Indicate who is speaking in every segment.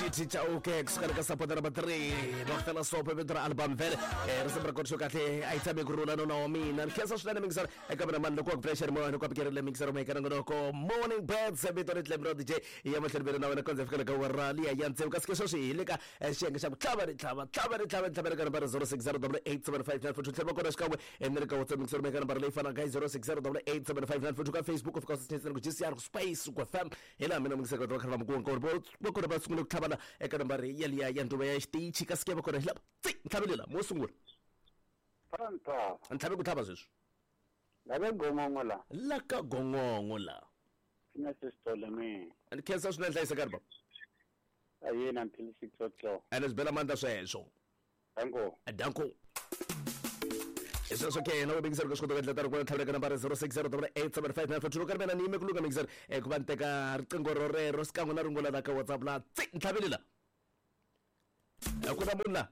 Speaker 1: GT Chauke kusuka ka supporter number 3 va sopo vito ra album vhele risimu ra kona xo kahle a yi tshami ku rhula nona wa mina ni khensa swinene mixer eka mina mani loko wa ku pressure moya loko wa pikerile mixer mo eka nongonoko morning birds vito ri tlem ra DJ ya mahlweni vele na wena kondza fika ka wara liya ya ntsevu kasi ke sweswi hi le ka xiyenge xa ku tlhava ri tlhava tlhava ri tlhava tlhava eka nambara 0608875942 tlhela va kona xikan'we ni le ka WhatsApp mixer mo eka nambara leyi fanaka hi 0608875942 ka Facebook u fika u swi ku GCR ku space ku FM hi laha mina mixer va kha va mukuwa nkarhi va kona va sungule ku tlhavana eka nambara yaliya ya nduva ya xitichi kasi ke va kona hi lava tsi ntlhavi lela mo sungula
Speaker 2: Panta.
Speaker 1: Ntlhavi ku tlhava sweswi
Speaker 2: Lava gongongo la.
Speaker 1: La ka gongongo la.
Speaker 2: Sina sisitole mina.
Speaker 1: Ni khensa swinene hlayiseka ri baba.
Speaker 2: Ayena until 6 o'clock.
Speaker 1: Ene swi bela mandla sweswo.
Speaker 2: Danko.
Speaker 1: Danko. Hi sweswo ke yena u mixer ku swi kota ku endla tano ku tlhavela ka nambara 06087594 loko ri mina ni yime ku lunga mixer ku va ni teka riqingho rorero xikan'we na rungula la ka WhatsApp la tsi ntlhaveli la a ku na munhu la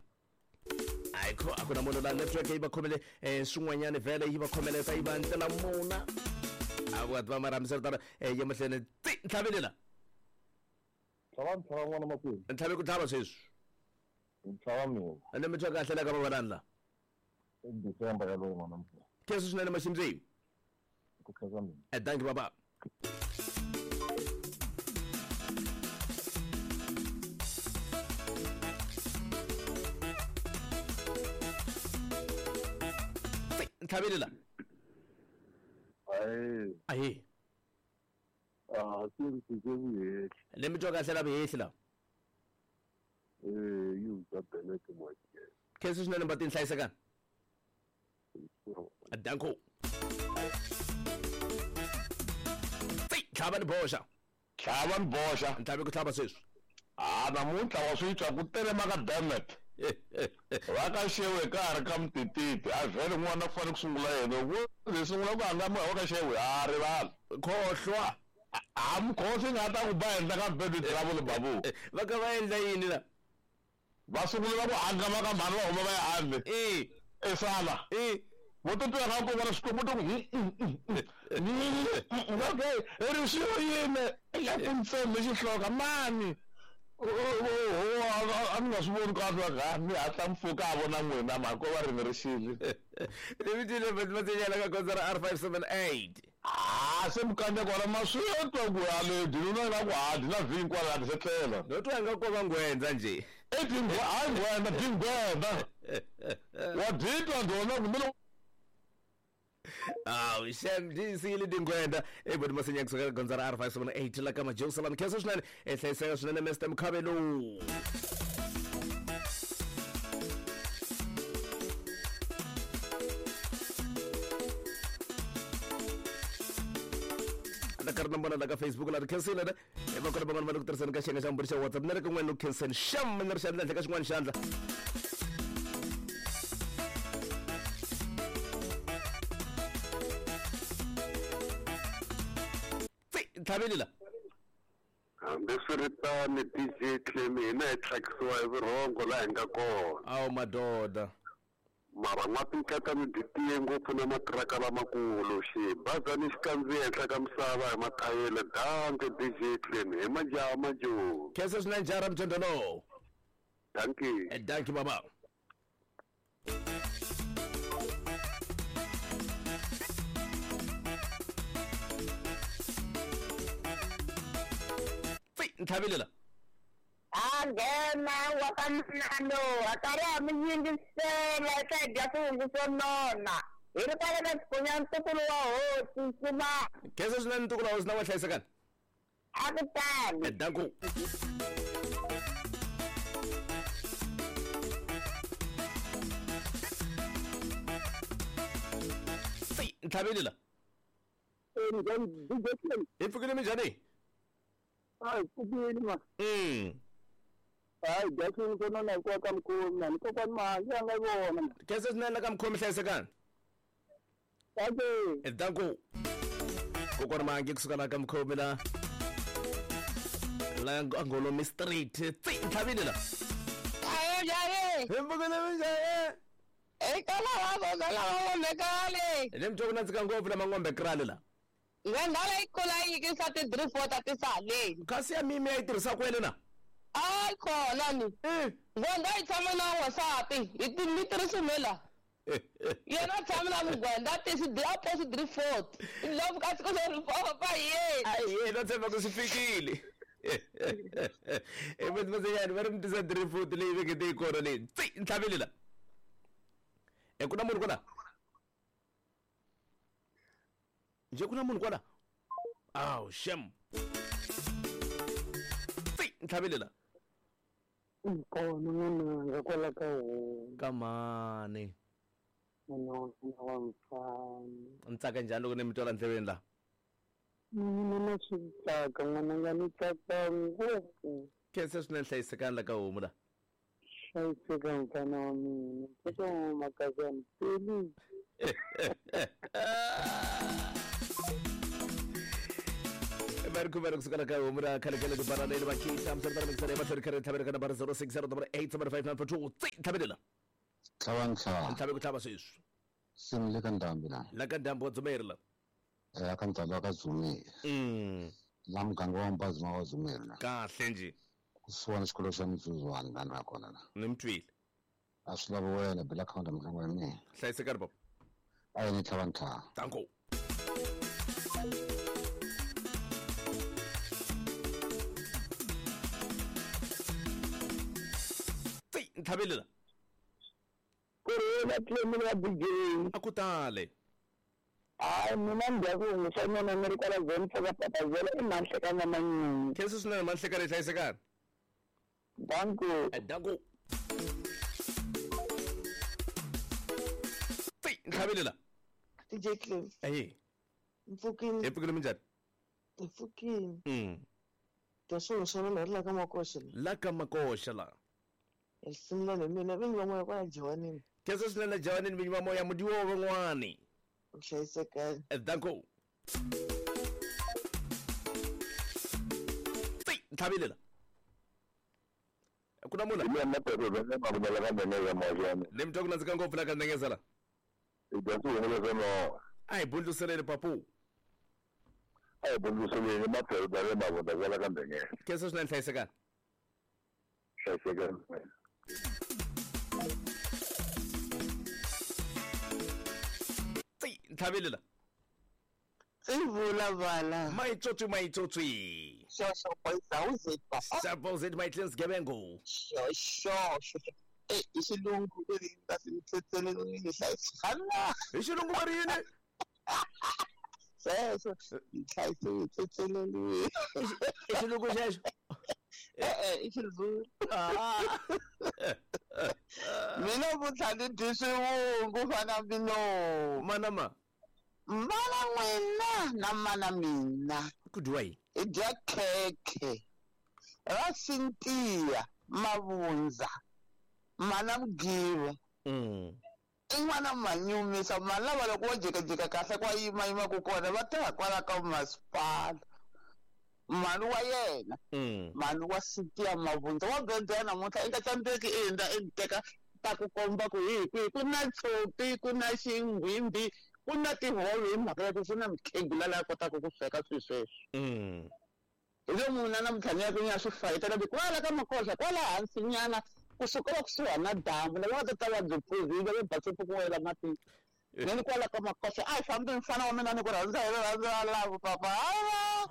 Speaker 1: ayikho a ku na munhu la network yi va khomele swin'wanyani vhele yi va khomeleta yi va ndlela muna a ku va mara hambiswiritano ya mahlweni tsi ntlhaveli la
Speaker 3: Tlhava ntlhava n'wana makwenu.
Speaker 1: Ntlhavi ku tlhava sweswi.
Speaker 3: Ntlhava mina.
Speaker 1: Ende mi twa kahle la ka vavanani la.
Speaker 3: I December yaloye n'wana mfana.
Speaker 1: Khensa swinene Maximzi.
Speaker 3: Ku khensa mina.
Speaker 1: Thank you baba. Ntlhaveli la.
Speaker 3: Ayi.
Speaker 1: Ayi.
Speaker 3: Ah, se ri fike vuhehli.
Speaker 1: Le mi twa kahle la vuhehli la.
Speaker 3: Eh, yi za beleke mwakhe.
Speaker 1: Khensa swinene mbatini hlayisekani. Danko. Tsi, tlhava ni boxa.
Speaker 4: Tlhava ni boxa.
Speaker 1: Ntlhavi ku tlhava sweswi.
Speaker 4: Ah, namuntlha wa swi twa ku telema ka dammit. Va ka xewe ka ha ri ka mutititi. A vhele n'wana ku fanele ku sungula yena. Ku ze sungula ku hangamiwa wa ka xewe, a rivala.
Speaker 1: Khohlwa.
Speaker 4: A mukhosi nga ta ku ba henhla ka bed travel babu.
Speaker 1: Va ka va endla yini la?
Speaker 4: Va sungula ku hangama ka mhani va huma va ya handle.
Speaker 1: Eh.
Speaker 4: Esala.
Speaker 1: Eh.
Speaker 4: Vo to twa nga ku vona xikwembu to ku okay, ri xilo yini? Ya ku ntseme xihloka mani. A ni nga swi voni kahle va mi hatla mpfuka a vona n'wina mhaka ko va ri ni ri xile.
Speaker 1: Ni vitile matinyela ka gondzo ra R578.
Speaker 4: Ah, se mukanya kona ma swi twa ku ya le dinuna nga ku ha dina vhingi kwala ti setlela.
Speaker 1: No twa nga ko va ngwendza nje.
Speaker 4: E dingwa hayi ngwenda dingwenda. Wa ditwa ndona kumbe
Speaker 1: Aw, xem di siyile dingwenda ebodi masinya kusuka ka gondzo ra R578 la ka Majerusalem. Khensa swinene hlayiseka swinene Mr Mkhabelo. Na karhi na vona la ka Facebook la ri khensile ne va kona van'wana va le ku tirhiseni ka xiyenge xa mburi xa WhatsApp ni ri kun'wana ni ku khenseni xam ni ri xandla henhla ka xin'wana xandla. Tsi, ntlhaveli la.
Speaker 2: Hambiswiritano DJ Clem hina hi tlhakisiwa hi vurhongo laha hi nga kona.
Speaker 1: Awu madoda.
Speaker 2: Mara n'watinkatani byi tiye ngopfu na matiraka lamakulu xibazani xi kandziya henhla ka misava hi mathayele danke DJ Clem hi majaha majoni.
Speaker 1: Khensa swinene jara mjondolo.
Speaker 2: Dankie.
Speaker 1: Dankie baba. Tsi, ntlhaveli la.
Speaker 5: A nghena wa ka manano a karhi a mi yingisela eka hi dya swihungu swo nona hi ri kwale ka xikonya ntukulu wa hosi Nsuma.
Speaker 1: Khensa swinene ntukulu wa hosi na wa hlayisekani.
Speaker 5: A ku tali.
Speaker 1: Danko. Tsi, ntlhaveli la. Hi pfukile minjhani?
Speaker 2: Hayi pfukile ma. Hayi dya swihungu swo nona hikuva ka mukhomi na ni kokwani mahangi a nga vona.
Speaker 1: Khensa swinene ka mukhomi hlayisekani.
Speaker 2: Danke.
Speaker 1: Danko. Kokwani mahangi kusuka la ka mukhomi la. La Angolomi Street. Tsi, ntlhaveli la.
Speaker 5: Aye, njhani?
Speaker 1: Hi pfukile minjhani?
Speaker 5: Eka lava lava ngombe kale.
Speaker 1: Le mi twa ku nandzika ngopfu lama ngombe krale la.
Speaker 5: Ngwenda leyi kula yi nyikisa ti-3 4 ta tisaleni.
Speaker 1: Kasi ya mimi a yi tirhisa kwele na?
Speaker 5: A yi kona ni. Ngwenda yi tshama na n'wansati hi ti mi tirhisi la. Yena tshama na mugwenda tisi a posi 3 4. Love ka siku leri papa ye.
Speaker 1: Aye, no tshemba ku swi fikile. Ematmasenyani va ri mi tisa 3 4 leyi vekete yi kona leyi. Tsi, ntlhaveli la. E ku na munhu kwala? Nje ku na munhu kwala? Aw, shem. Tsi, ntlhaveli la.
Speaker 3: Kona n'wananga kwala ka homu.
Speaker 1: Kamani.
Speaker 3: N'wana wa mina wa mfana.
Speaker 1: Ni tsaka njhani loko ni mi twala ndleveni la?
Speaker 3: Mina na swi tsaka n'wananga ni tsaka ngopfu.
Speaker 1: Khensa swinene hlayisekani la ka homu la.
Speaker 3: Hlayiseka mfana wa mina. Tsaka wa makazana. Peli.
Speaker 1: Va ri khumela kusuka la ka homu ra khale khale ku bara leyi vakhisa misana misana emahlweni kha ri tlhavela ka nambara 060 875 tsi ntlhaveli la.
Speaker 6: Tlhava ntlhava.
Speaker 1: Ntlhave ku tlhava sweswi.
Speaker 6: Simi le ka ndhambi la.
Speaker 1: La ka ndhambi wa Dzumeri la.
Speaker 6: La ka ndhambi wa ka Dzumeri. La muganga wa Mbazima wa Dzumeri la.
Speaker 1: Kahle nje.
Speaker 6: Kusuhani xikolo xa Mitsuzwani la ni nga kona la.
Speaker 1: Ni mi twile.
Speaker 6: A swi lavi wena bela khawunta mutlangi wa mina.
Speaker 1: Hlayisekani baba.
Speaker 6: A yi ni tlhava ntlhava.
Speaker 1: Danko. Tsi, ntlhaveli la.
Speaker 3: Kurhula Clement wa DJ.
Speaker 1: A ku tale.
Speaker 3: Hayi mina ndhaku hungisanyana ni ri kwala zone ka Papazela i Manhlekana Manyunyu.
Speaker 1: Khensa swinene Manhlekana hlayisekani.
Speaker 3: Danko.
Speaker 1: Danko. Tsi, ntlhaveli la.
Speaker 7: DJ Clem.
Speaker 1: Ayi.
Speaker 7: Mpfukini.
Speaker 1: Hi pfukile minjhani?
Speaker 7: Hi pfukini. Ta swilo swa mina ri la ka Makoxa la.
Speaker 1: La ka Makoxa la.
Speaker 7: Risimu la mina vinyi va moya kwala Jawanini.
Speaker 1: Khensa swinene Jawanini vinyi va moya mudiwo van'wani.
Speaker 7: Hlayisekani.
Speaker 1: Danko. Tsi, ntlhaveli la. Ku na munhu? Ni mi twa ku nandzika ngopfu la ka Ndengeza la. A hi bundluseleni papu.
Speaker 4: A hi bundluseleni maphelo mavunda kwala ka Ndengeza.
Speaker 1: Khensa swinene hlayisekani.
Speaker 4: Hlayisekani.
Speaker 1: Tsi, ntlhaveli la.
Speaker 7: Tsi vula vala.
Speaker 1: Maitsotsi maitsotsi.
Speaker 7: Sho boys awuzet papa.
Speaker 1: Suppose my cleans gebengo.
Speaker 7: Sho. Eh, xilungu leri nga si mitsetseleni ni hlayisana.
Speaker 1: Hi xilungu va ri yini?
Speaker 7: Sweswo hi hlayise mitsetseleni.
Speaker 1: I xilungu xexo?
Speaker 7: E-e, i xizulu. Mina vutlha ni dyi swivungu fana mino.
Speaker 1: Mana ma?
Speaker 7: Mana n'wina na mana mina.
Speaker 1: Ku dyiwa yini?
Speaker 7: Hi dya khekhe ra Sintiya Mavundza. Mana Mugiva. I n'wana manyumisa mani lava loko wo jikajika kahle kwa yimayima ku kona va tirha kwala ka masipala. Mhani wa yena. Mhani wa Sintiya Mavundza wa bebya namuntlha i nga tsandzeki i hundza i teka ta ku komba ku hi kwihi ku na tshopi ku na xinghwimbi ku na tihove hi mhaka ya ku ku na mukhegula laha kotaka ku sweka swilo sweswo. Hi lo munhu namuntlha ni ya ku ni ya swi fayetela kwala ka Makoxa kwala hansi nyana kusuka kusuhani na damu lava nga ta ta va byi phuzile va basipfu ku wela matini. Ni kwala ka Makoxa a hi fambi mfana wa mina ni ku rhandza hi rirhandzu ra lavo papa.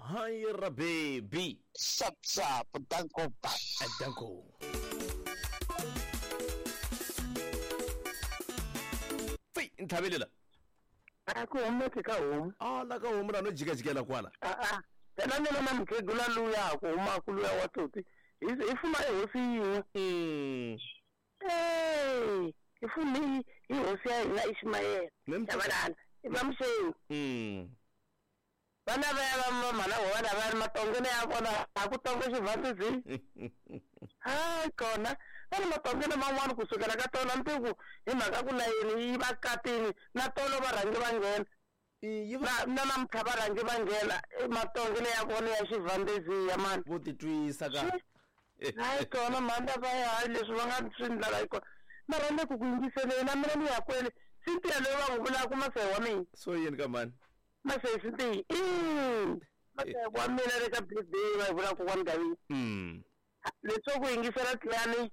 Speaker 1: Hayi ra baby.
Speaker 7: Sharp sharp danko bye.
Speaker 1: Danko. Tsi, ntlhaveli la.
Speaker 3: A ku humeki ka homu.
Speaker 1: A la ka homu la no jikajikela kwala.
Speaker 3: A. Phela mina na mukhegula luya ku humaka luya wa tsotsi. Hi fuma ehosi yin'we. Hi fume hi hosi ya hina Ismael. Chabalala. I va Muxengi. Vana va ya va mhana wa vana va ri matongeni ya vona a ku tonga xivandzi. Hayi kona va ri matongeni man'wana kusukela ka tona ntiku hi mhaka ku layeni yi va katini na tolo va rhangi va nghena. Na namuntlha va rhangi va nghena matongeni ya vona ya xivandzi ya mani.
Speaker 1: Vo titwisa ka.
Speaker 3: Hayi kona mhani va ya hayi leswi va nga swi ndlala hi kona. Mara le ku ku yingiseleni na mina ni ya kwele Sintiya loyi va n'wi vulaka masehi wa mina.
Speaker 1: So yini ka mani?
Speaker 3: Masesi ntiyi wa mina le ka birthday va vula kokwani Gavini. Leswo ku yingisela tlani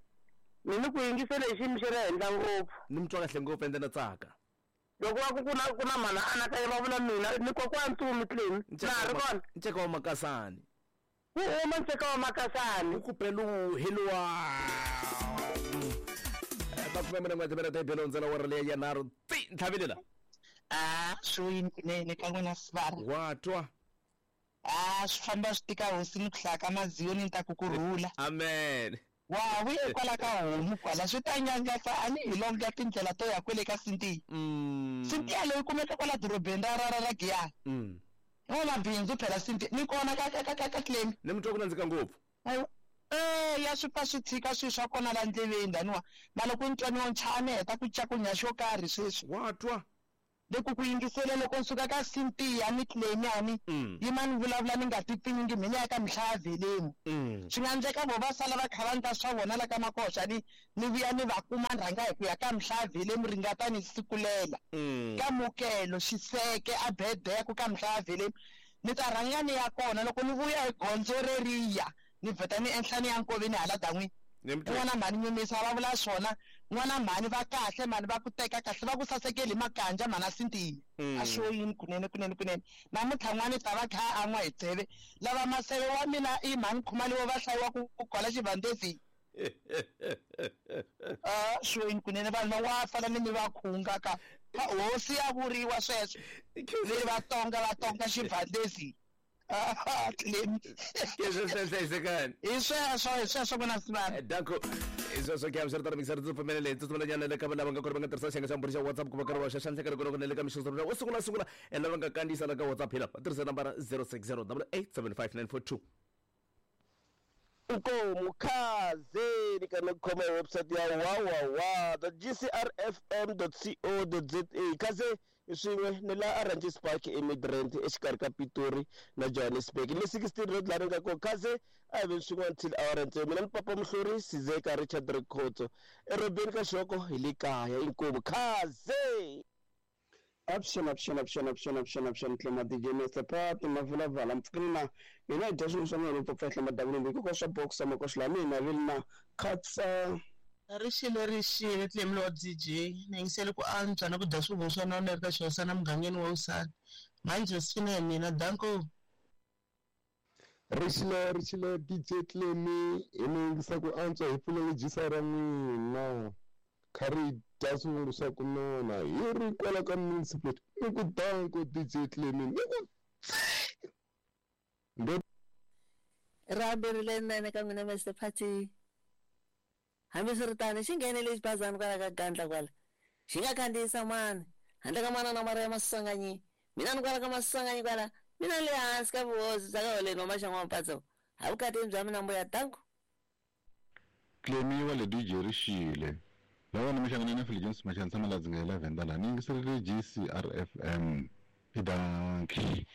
Speaker 3: mina ku yingisela hi xiyimo xa le henhla ngopfu.
Speaker 1: Ni mi twa kahle ngopfu ende na tsaka.
Speaker 3: Loko va ku kuna mana anakanya va vula mina ni kokwani Ntumi Clemi na ha ri kona.
Speaker 1: Nceka wa Makasani.
Speaker 3: Wu huma nceka wa Makasani.
Speaker 1: Wu ku pelu heluwa. Makume mune n'we timere ta ibelo ndzela wa ri ya nharhu ti ntlhavelela.
Speaker 8: A swo yini kunene ka n'wina sivara.
Speaker 1: Wa twa.
Speaker 8: A swi famba swi tika hosi ni ku hlaya ka maziyo ni ta ku kurhula.
Speaker 1: Amen.
Speaker 8: Wa vuye kwala ka homu kwala swi ta nyangatsa a ni hi longa tindlela to ya kwele ka Sintiya. Sintiya leyi kumeka kwala dorobeni ra Giyani. N'wamabindzu phela Sintiya ni kona ka Clemi.
Speaker 1: Ni mi twa ku nandzika ngopfu.
Speaker 8: Ya swi pfa swi tshika swilo swa kona la ndleveni laniwa na loko ni twa ni nchane heta ku cakunya xo karhi sweswi.
Speaker 1: Wa twa.
Speaker 8: Loko ku yingisele loko ni suka ka Sintiya ni Clemi ani yima ni vulavula ni nga tipfinyingi mina ya ka Mhlaveleni. Swi nga endleka vo va sala va kha va ndla swa vona la ka Makoxa ni vuya ni va kuma ni rhanga hi ku ya ka Mhlaveleni ringata ni sikulela. Ka Mukelo Xiseke a Bedeko ka Mhlaveleni ni ta rhanga ni ya kona loko ni vuya hi gondzo reriya ni vheta ni enhla ni ya nkoveni hala dan'wini. N'wana mhani nyumisa va vula swona n'wana mhani va kahle mhani va ku teka kahle va ku sasekeli makanja mhana Sintiya. A swo yini kunene kunene kunene namuntlha n'wana ta va kha a n'wa hi tseve lava maseve wa mina i mhani Khumalo va hlayiwa ku kwala xivandezi. A swo yini kunene vanhu va fana ni mi va khunga ka hosi ya vuriwa sweswo ni va tonga xivandezi. Clemi. Hi sweswo ku na sivana.
Speaker 1: Danko. Sweswo ke swi ri tano mixer ndzi pfumelele ndzi pfumelanyana le ka lava nga kona va nga tirhisa xiyenge xa mbhuri xa WhatsApp ku va karhi va xa xandla karhi kona le ka mixo wo sungula lava nga kandziyisa la ka WhatsApp hi lava tirhisa nambara 0608875942.
Speaker 9: Nkomu khazeni ka ni khoma hi website ya www.gcrfm.co.za khaze swin'we ni la Orange Park eMidrand exikarhi ka Pitori na Johannesburg le 16 road laha ni nga kona khaze a hi veni swin'wana till awara ntsena mina ni Papa Muhluri Sizeka Richard Rikhotso erobeni ka Xoko hi le kaya inkomu khaze.
Speaker 10: Option Clema DJ Mr. Pat mavulavala mpfukina hina hi dya swin'we swa mina loko pfahla madavulumbi hikuva swa boxa makoxi la mina vili na khatsa.
Speaker 11: Rixile Clemi wa DJ ni yingisele ku antswa na ku dya swivungu swa nona eka xihosana mugangeni wa Usana manje sifina hi mina danko.
Speaker 12: Rixile DJ Clemi hi ni yingisa ku antswa hi pfulele jisa ra n'wina kha ri dya swivungu swa ku nona hi ri kwala ka municipal ni ku danko DJ Clemi ni ku
Speaker 13: Rambirile nene ka n'wina Mr. Party. Hambiswiritano xi nghenele xibazana kwala ka gandla kwala xi nga khandziyisa mani handle ka manana mara ya Maswanganyi mina ni kwala ka Maswanganyi kwala mina le hansi ka vuhosi bya ka holeni wa Maxangu wa Mpatso ha vukatini bya mina mbuya danko.
Speaker 14: Clemi wa le DJ Rixile lava ni mixangana na Philip Jones Machansa Maladzi nga 11 dala ni yingiserile GCRFM i danki.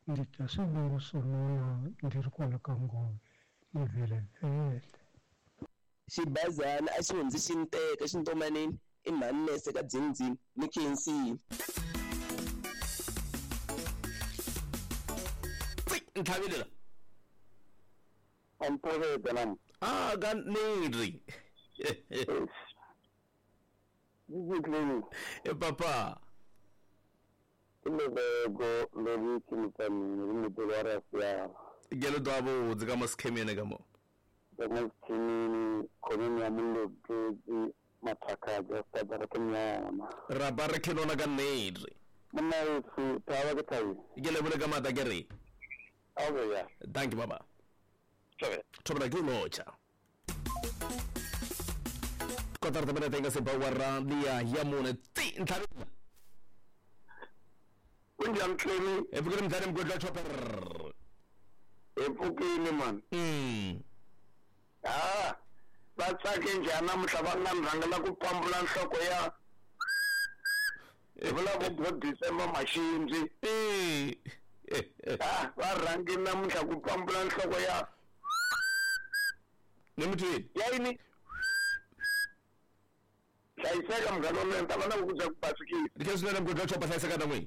Speaker 15: Ndzi twa swivungu swo nona ndzi ri kwala ka ngove ni vhelevhele.
Speaker 9: Xibazana a xi hundzi xi ni teka xintomanini i mhani nese ka dzindzini ni khensile.
Speaker 1: Ntlhavelela.
Speaker 2: Amphoveta nam.
Speaker 1: Ah ka neri.
Speaker 2: DJ
Speaker 1: E papa.
Speaker 2: Levego leri kimutani rimutelo ra ya.
Speaker 1: Gelo dabo dzika maskemene ka mo.
Speaker 2: Maskemene khoneni ya mulobezi mathakaja tabara kenyama.
Speaker 1: Rabara kenona ka neri.
Speaker 2: Mna yesu tawa ke tayi.
Speaker 1: Gelo bule ka mata ke re.
Speaker 2: Awe ya.
Speaker 1: Thank you baba. Thobela ke locha. Kotara tabela tenga se bawara dia ya mone ti ntlhavelela.
Speaker 2: Kunjani Clemi?
Speaker 1: Epfukile mdlali mgwedla chopper.
Speaker 2: Epfukile man. Ah, va tsake njhani namuntlha va nga rhangela ku pambula nhloko ya hi vula ku December Maxindzi. Ah, va rhangi namuntlha ku pambula nhloko ya
Speaker 1: ni mutwini
Speaker 2: ya yini? Hlayiseka munghana wa mina, ni ta va na ku bya ku basikile.
Speaker 1: Ni khensa swinene mugodi wa chopa, hlayiseka na n'wina.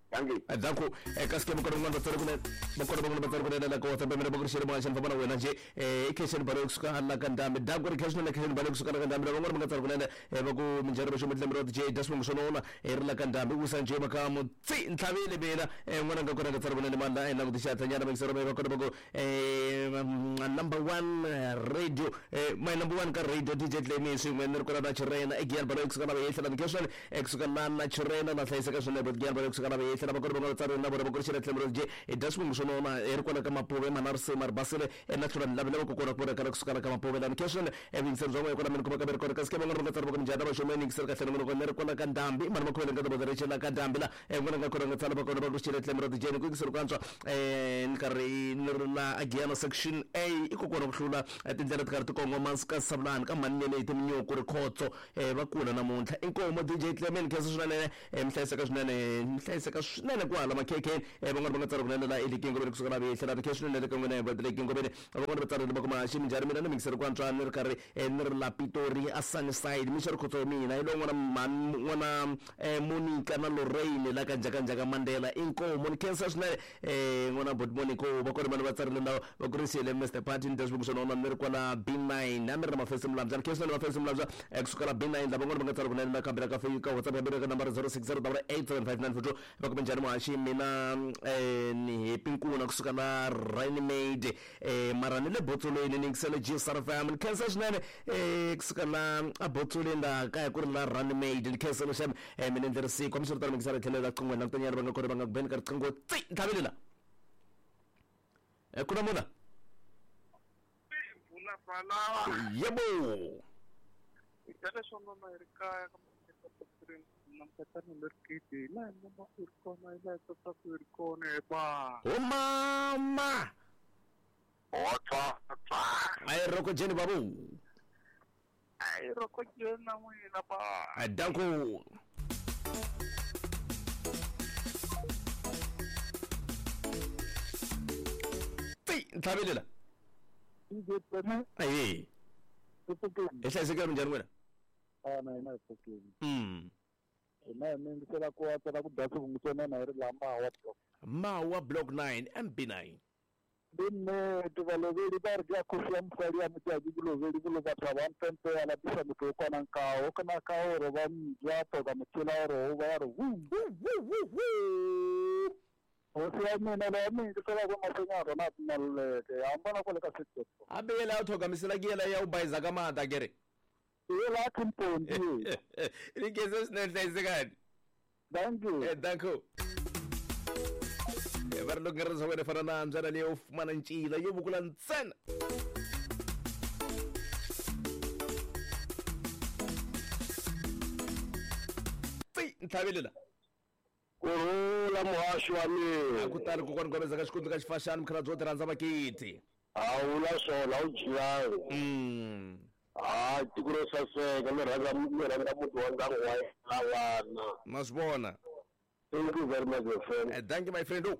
Speaker 2: Dankie.
Speaker 1: Danko eka sikema kona kun'wana vatswari kunene va kona van'wana vatswari kunene la ka WhatsApp ya mina va ku ri xele moya xana famba na wena nje i Khensani Balo kusuka la ka Ndhambi. Danko ri khensa swinene Khensani Balo kusuka la ka Ndhambi. Lava van'wana va nga tsari kunene va ku minjhani va xo mutlemeri wa DJ Dasmong Sonona ri la ka Ndhambi wisa nje makamu tsi ntlhavile mina n'wana nga kona nga tsari kunene mani la languti xihatla nyana va va kona va ku number 1 radio my number 1 ka radio DJ Clemi swin'we ni ri kona na Chirena e Giyani Balo kusuka la va yehla la Khensani kusuka la na Chirena na hlayiseka swinene but Giyani Balo kusuka la va yehla lava kona va nga tsari na vona va ku ri xele tlhelo ri i Dasmong Sonona ri kona ka Mapuve Manarse Marbasile na tlhela ni lavela ku kona ku vona ka kusuka la ka Mapuve la Khensani vuyingiseri bya n'wina kona mina kuma ka ri kona kasi ke van'wana va nga tsari va ku minjhani va xome ni yingiseri kahle nongonoko ni ri kona ka Ndhambi mani va khomele ka tibodo ri xela ka Ndhambi la n'wana nga kona nga tsala va kona va ku xele tlhelo ri jeni ku yingiseri ku antswa ni karhi ni ri la Giyani section A i ku kona ku hlula tindlela ti karhi ti kongoma ka Sabulani ka Manene hi Timunyuku Rikhotso va kula namuntlha inkomo DJ Clement khensa swinene mi hlayiseka swinene mi hlayiseka swinene kwala makhekheni van'wana va nga tsala kunene la eLikingobeni kusuka la vehla la khensa swinene ka n'wina va Likingobeni van'wana va tsarile va kuma xi minjhani mina ni mingiseri ku antswa ni ri karhi ni ri la Pitori a Sunnyside mi xi Rikhotso mina hi lowu n'wana n'wana Monica na Lorraine la ka Njhakanjhaka Mandela inkomo ni khensa swinene n'wana bot Monica va kona vanhu va tsarile lawa va kurisile Mr Party ni Dasmong Sonona ni ri kwala B9 a mi ri na Mafesi Mulambya ni khensa swinene Mafesi Mulambya kusuka la B9 lava van'wana va nga tsala kunene na kambela ka ka WhatsApp ya mina ka nambara 0608875942 va kuma njhani muhaxi mina ni Happy Nkuna kusuka la Rainmade mara ni le Botsolweni ni yingisele GSR FM ni khensa swinene kusuka la a Botsolweni la kaya ku ri la Rainmade ni khensa lexi mina ndzi ri siku hambiswiritano mi yingisela tlhelo la qingweni langutanyana va nga kona va nga ku beni ka riqingho tsi ntlhavile la ku na muna yebo o mama ai roko jeni babu
Speaker 2: ai roko jeni na n'wina ba
Speaker 1: danko tsi ntlhavile la ayi i hlayisekile minjhani n'wina
Speaker 16: na hina hi pfukile hina hi mingisela ku antswa ku dya swivungu na hi ri la Mawa block
Speaker 1: Mawa block 9 MB9
Speaker 16: ndi nnete valoveli va ri ke khosi ya mosadi ya motšatši ke loveli ke lo batho ba mpempe ya lapisa motho o kwana nkao kana ka ore ba mja toka motšhela ore o ba ya re hosi ya mina leya mingisela ku mahlweni ya rona a tinaluleke hambana kwale ka setso
Speaker 1: hambi yela ya u thogamisela ke yela ya u bayiza ka mata ke re
Speaker 16: yela khimpondi
Speaker 1: ni khensa swinene hlayisekani
Speaker 16: thank you
Speaker 1: thank you va ri loko nga ri swa wena fana na mbyana leyi yo fumana ncila yo vukula ntsena tsi ntlhavile la
Speaker 2: kurhula muhaxi wa mina
Speaker 1: a ku tali kokwana Gomeza ka xikundzu ka xifaxani mukhalabye wo ti rhandza vakiti
Speaker 2: a wula swona u jiyayo hayi tiko ro saseka mi rhandza muti wa ndyangu wa yena vana
Speaker 1: ma swi vona.
Speaker 2: Thank you very much, my friend.
Speaker 1: Thank you, my friend.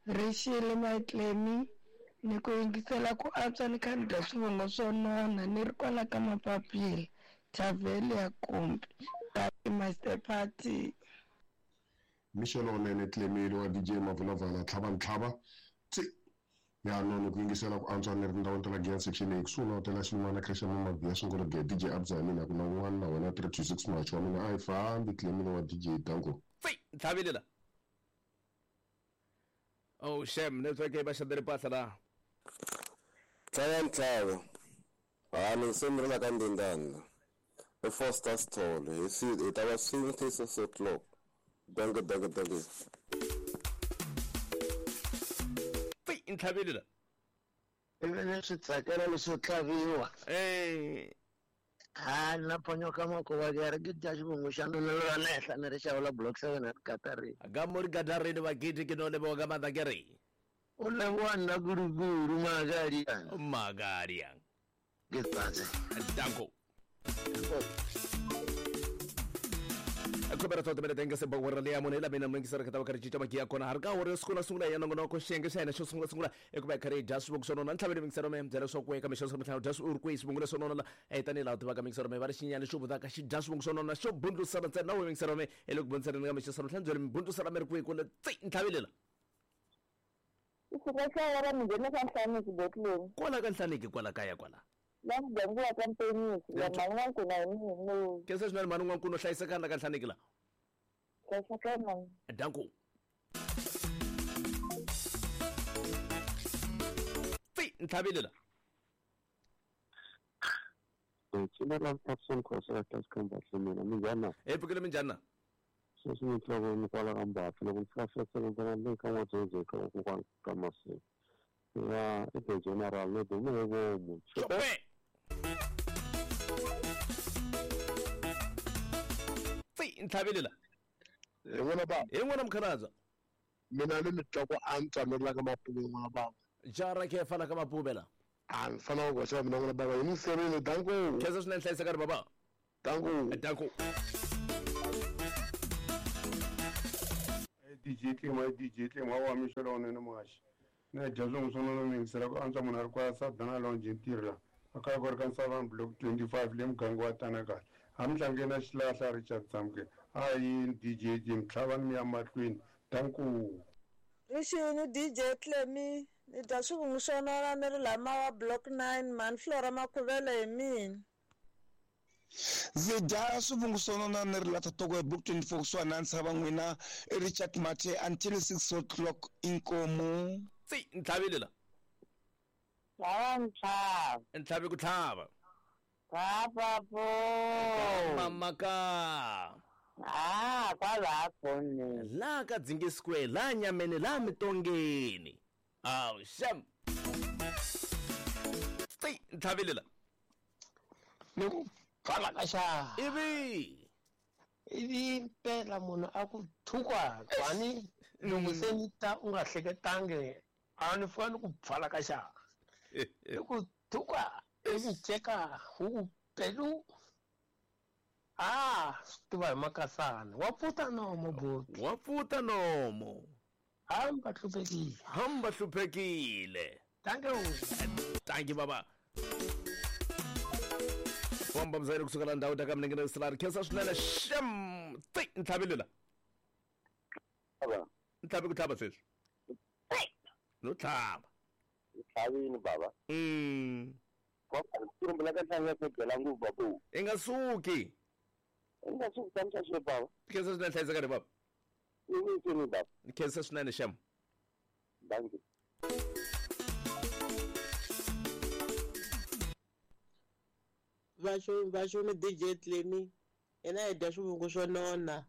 Speaker 17: Rixile Maitlemi ni ku yingisela ku antswa ni kha ni dya swivongo swo nona ni ri kwala ka Mapapila Thavhele ya Kumbi Master Party.
Speaker 12: Mixo lowunene Clemile wa DJ Mavulavala tlhava ntlhava tsi ya nona ku yingisela ku antswa ni ri ndhawini ta la Giyani section A kusuhi na hotela xin'wana Christian Mamabiya Sungula Ge DJ Abza ya mina ku na un'wana na wena 326 Macho wa mina a yi fambi Clemile wa DJ Danko
Speaker 1: tsi ntlhavile la oh shem network yi va xadele mpahla la
Speaker 18: tlhava ntlhava hani se mi ri la ka ndindana i Foster Stall hi ta va swin'we till 6 o'clock danke danke danke
Speaker 1: tsi ntlhavile la
Speaker 19: ivi ni swi tsakela leswo tlhaviwa ha na ponyoka makuva ya ri ke dya xivungu xa mina ra le henhla ni ri xavula block 7 a ri gatarini
Speaker 1: ga mo ri gatarini vakiti ke no leboga ka maatla ke re
Speaker 19: o leboga nna kudukudu maakadiang
Speaker 1: maakadiang
Speaker 19: ke tsatse
Speaker 1: danko Khomera to timele tenge se bawara le ya mune la mina mingisa re ka ka ri cinca magiya kona har ka hore siku na sungula ya nongonoko xiyenge xa hina xo sungula sungula ekuva hi karhi hi dya swivongo swo nona ntlhavelo mingisero me byela swa ku eka mixo swa mintlhanu dya swi uri kwihi swivongo leswo nona la tanihi laha u tivaka mingisero me va ri xinyani xo vutaka xi dya swivongo swo nona xo bundlusana ntsena na we mingisero me hi le ku bundlisaneni ka mixo swa mintlhanu byele mi bundlusana mi ri kwihi kule tsi ntlhavelela
Speaker 20: Kusuka xa wara mi nghena ka Nhlaniki botleni.
Speaker 1: Kwala ka Nhlaniki kwala kaya kwala.
Speaker 20: La muganga wa ka Mpenisi, la mhani n'wankuna hi mina loyi.
Speaker 1: Khensa swinene mhani n'wankuna u hlayisekani la ka Nhlaniki la.
Speaker 20: Hlayisekani mhani.
Speaker 1: Danko. Tsi ntlhavile la.
Speaker 2: Tsina ra Thompson Khosa ka Class Combat mina minjhani na?
Speaker 1: Hi pfukile minjhani na?
Speaker 2: Sweswi ni twa ni kwala ka Mbatha loko ni fika fika ni ka n'wadzodzi ka kokwana ka Masiku ya i the general ni dume hi vomu.
Speaker 1: Chope! Tsi ntlhavile la.
Speaker 21: Hi n'wina baba.
Speaker 1: Hi n'wina mukhalabye.
Speaker 21: Mina ni mi twa ku antswa ni ri la ka Mapuve n'wana baba.
Speaker 1: Jara ke fana ka Mapuve la.
Speaker 21: A ni fanele ku hoxa mina n'wana baba hi ni serile danko.
Speaker 1: Khensa swinene hlayisekani baba.
Speaker 21: Danko.
Speaker 1: Danko.
Speaker 22: DJ Tlima DJ Tlima wa mixo lowunene muhaxi na dya swin'we swo nona mi yingisela ku antswa munhu a ri kwala Sadana Lounge ntirho la a kaya ku ri ka Nsavani block 25 le muganga wa Tanakala a mi hlangene na xilahla Richard Samke a yini DJ Jim tlhavani mi ya mahlweni danku.
Speaker 23: Rixini DJ Tlemi ni dya swivungu swo nona ni ri la Mawa block 9 mhani Flora Makhuvele hi mina.
Speaker 24: Ndzi dya swivungu swo nona ni ri la Totoko hi block 24 kusuhani na ntshava n'wina i Richard Mathe until 6 o'clock inkomu.
Speaker 1: Tsi ntlhavile la.
Speaker 20: Tlhava ntlhava.
Speaker 1: Ntlhavi ku tlhava.
Speaker 20: Papapo.
Speaker 1: Mama ka.
Speaker 20: Ah, kwala kone.
Speaker 1: La ka Dzingi Square, la nyameni, la mitongeni. Aw, sham. Tsi ntlhavile la.
Speaker 25: Ni ku pfala ka xa.
Speaker 1: Ivi.
Speaker 25: Ivi mpela munhu a ku thukwa kwani loko se ni ta u nga hleketangi a ni fika ni ku pfala ka xa. Ni ku thukwa ivi ceka hu pelu. Ah, swi tiva hi makasana. Wa pfuta nomo buti.
Speaker 1: Wa pfuta nomo.
Speaker 25: Hamba hluphekile.
Speaker 1: Hamba hluphekile.
Speaker 25: Thank you.
Speaker 1: Thank you baba. Bomba mzayiri kusuka la ndhawu ta ka minengene silari khensa swinene shem tsi ntlhavile la.
Speaker 2: Baba.
Speaker 1: Ntlhavi ku tlhava sweswi. No tlhava.
Speaker 2: Ntlhavini baba. Kwa ka ntlhanu ya ku byela ngopfu babu.
Speaker 1: I nga suki.
Speaker 2: I nga suki tshamisa sweswi baba.
Speaker 1: Khensa swinene hlayisekani baba.
Speaker 2: Ni baba.
Speaker 1: Khensa swinene shem.
Speaker 2: Thank you.
Speaker 11: Vaxo DJ Tlemi hina hi dya swivungu swo nona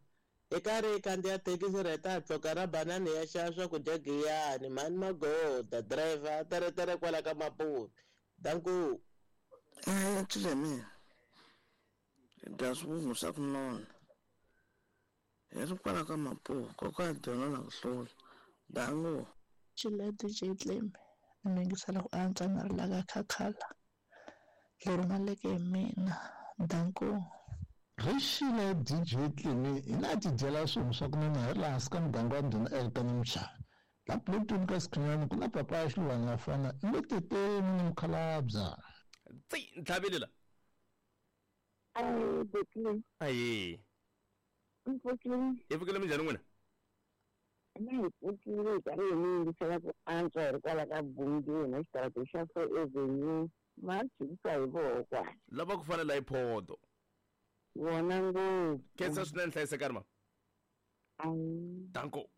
Speaker 11: hi karhi hi khandziya thekisi ra ta tloka ra banana ya xava swakudya giyani mhani magoda driver teretere kwala ka Mapuve danku.
Speaker 26: Tlemi hi dya swivungu swa ku nona hi ri kwala ka Mapuve koka dyona na ku hlula danku.
Speaker 27: Xila DJ Tlemi ni yingisela ku antswa ni ri la ka Khakhala leri maleke hi mina danku.
Speaker 28: Rixile DJ Tlemi hina ti dyela swivungu swa ku nona hi ri laha hansi ka muganga wa Ndhuna Elton Mchana la plotini ka Sikhinyana ku na papa ya xiluvana ya fana i le teteni ni mukhalabya.
Speaker 1: Tsi ntlhavile la.
Speaker 20: Ayi Betli.
Speaker 1: Ayi.
Speaker 20: Mpfukile.
Speaker 1: Hi pfukile minjhani n'wina?
Speaker 20: Na hi pfukile hi karhi hi mi yingisela ku antswa hi ri kwala ka Bungeni xitarateni xa 4 Avenue. Majikisa hi voko.
Speaker 1: Lava ku fanela hi phodo.
Speaker 20: Vona ngopfu.
Speaker 1: Khensa swinene hlayisekani ma. Danko.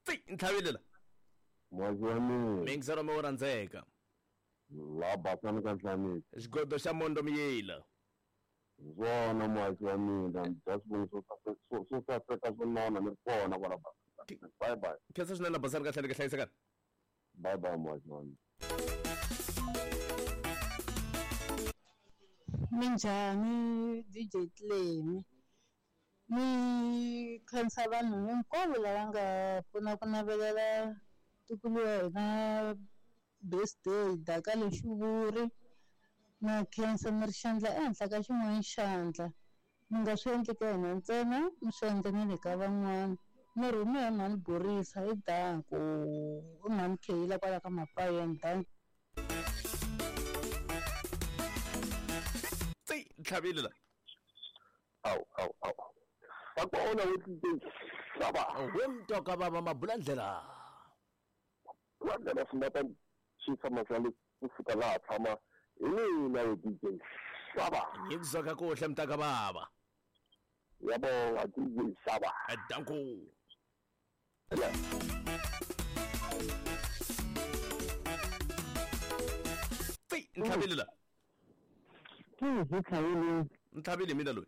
Speaker 1: Tsi ntlhavile la.
Speaker 2: Mwazi wa mina.
Speaker 1: Mingiselo mi wo rhandzeka.
Speaker 2: La basani ka Nhlaniki.
Speaker 1: Xigodo xa Mondo Miyila.
Speaker 2: Zwona mwazi wa mina, dya swivungu swo saseka swo nona ni ri kona kwala basani. Bye bye.
Speaker 1: Khensa swinene la basani ka Nhlaniki hlayisekani.
Speaker 2: Bye bye mwazi wa mina.
Speaker 29: Minjhani DJ Tlemi ni khensa vanhu hinkwavo lava nga pfuna ku navelela ntukulu wa hina birthday daka lexivuri Na khensa mi ri xandla ehenhla ka xin'wana xandla. Mi nga swi endli ka hina ntsena, mi swi endla na le ka van'wana. Mi rhume hi mhani Borisa hi danko, i mhani Kheyila kwala ka Mapayeni danko.
Speaker 1: Tsi tlhavile la.
Speaker 2: Awu awu awu. Vakona wo DJ Saba.
Speaker 1: We mtoka baba mabulandlela.
Speaker 2: Landlela swi ta xi tshama xa le kusuka laha tshama hi mina wo DJ Saba.
Speaker 1: Ngikuzwa kakuhle mntaka baba.
Speaker 2: Ngiyabonga DJ Saba.
Speaker 1: Danko. Tsi ntlhavile la. Ntlhavile mina loyi.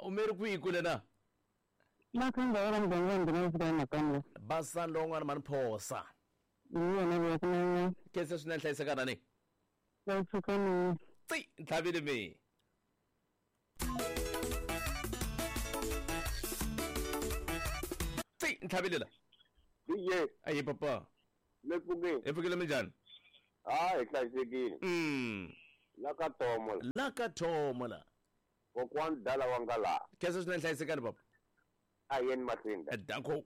Speaker 1: U mi ri kwihi kule na? Basani lowun'wana mani phosa. Khensa swinene hlayisekana ni. Tsi ntlhavile mi. Tsi ntlhavile la.
Speaker 2: DJ.
Speaker 1: Ayi papa.
Speaker 2: Le pfukile.
Speaker 1: Hi pfukile minjhani?
Speaker 2: Ah, hi hlayisekile. La ka Tomo la.
Speaker 1: La ka Tomo la.
Speaker 2: Kokwani dala wa nga laha.
Speaker 1: Khensa swinene hlayisekani papa.
Speaker 2: A yeni mahlweni.
Speaker 1: Danko.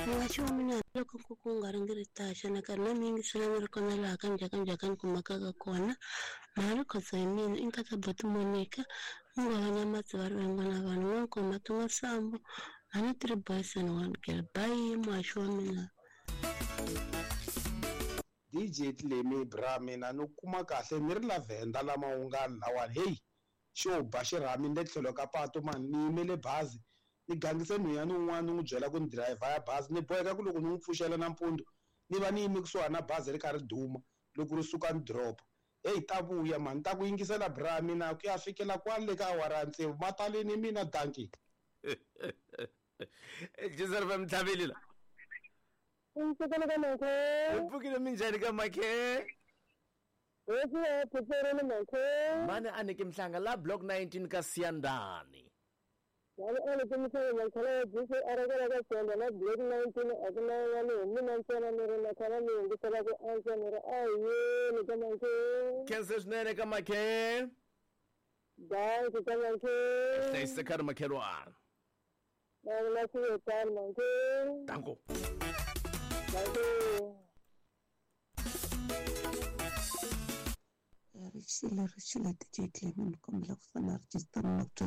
Speaker 3: Muhaxi wa mina loko nkuku wu nga ringiritaxa na karhi na mi yingisela ni ri kona laha ka njhakanjhaka ni kumakaka kona mhani khotso hi mina i nkata boti Monica mungwa wa Nyamatsi va ri vengwana vanhu n'wankoma tin'wa sambo mhani 3 boys and 1 girl bye muhaxi wa mina.
Speaker 4: DJ Tlemi bra mina ni kuma kahle ni ri la Venda lama wu nga lawani hey xo ba xirhami ni le tlhelo ka pato mani ni yimele bazi ni gangise nhwenya ni un'wana ni n'wi byela ku ni dirayivha ya bazi ni boheka ku loko ni n'wi pfuxela nampundzu ni va ni yime kusuhani na bazi ri kha ri duma loko ri suka ni drop hey ta vuya mani ta ku yingisela bra mina ku ya fikela kwale ka awara ya tsevu mataleni mina danki.
Speaker 1: Jizeri va mtlhavile la.
Speaker 29: Mpfukile ka makhe.
Speaker 1: Mpfukile minjhani ka makhe? Mani a niki mhlanga la block 19 ka Siyandani.
Speaker 29: Mani a niki mhlanga makhana ya DC a ri kwala ka Siyandani na block 19 a ku na yin'wana hi mina ntsena ni ri makhana ni yingisela ku antswa ni ri a yini ka makhe.
Speaker 1: Khensa swinene ka makhe.
Speaker 29: Danki ka makhe.
Speaker 1: Hlayisekani makhelwana.
Speaker 29: Na vula swi tano makhe.
Speaker 1: Danko.
Speaker 3: Ri xile DJ Clement ni kombela ku fana register na ku twa